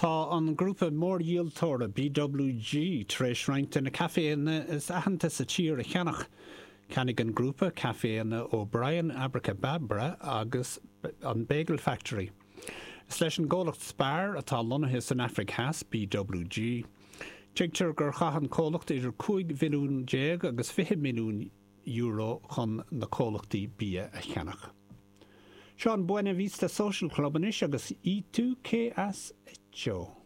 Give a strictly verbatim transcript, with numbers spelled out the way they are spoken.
Tá an grúpa mórdhíoltóra BWG tar éis roinnt de na caiféanna is aitheanta sa tír a cheannach. Cheannaigh an grúpa caiféanna O'Brien Abrakebabra agus an Bagel Factory. Is leis an gcomhlacht Spar atá lonnaithe san Afraic Theas BWG. Tuigtear gur chaith an comhlacht idir cúig mhilliún déag agus fiche milliún euro chun na comhlachtaí bia a cheannach. Seo an Buena Vista Social Club anois agus ¿Y tú qué has hecho?